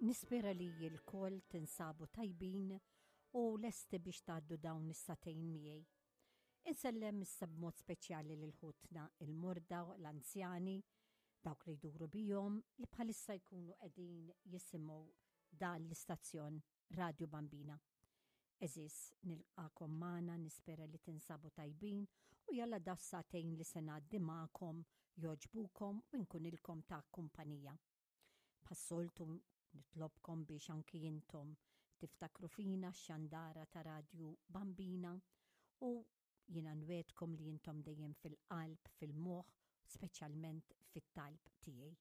Nispera li lkoll tinsabu tajbin u lesti biex tgħaddu dawn is-sagħtejn miegħi. Insellem issa b'mod speċjali lil ħutna il-morda, l-anzjani, dawk li jduru bihom li bħalissa jkunu qegħdin jisimgħu dan l-istazzjon Radio Bambina. Għeżież, nilqagħkom magħna, nispera li tinsabu tajbin u jalla das-sagħtejn li se ngħaddi magħkom jogħġbukom u nkunilkom ta' kumpanija. Bħas-soltu nitlobkom biex anki intom tiftakru fina x-xandara ta' Radju Bambina u jiena nwegħdkom li intom dejjem fil-qalb, fil-moħħ, speċjalment fit-talb tiegħi.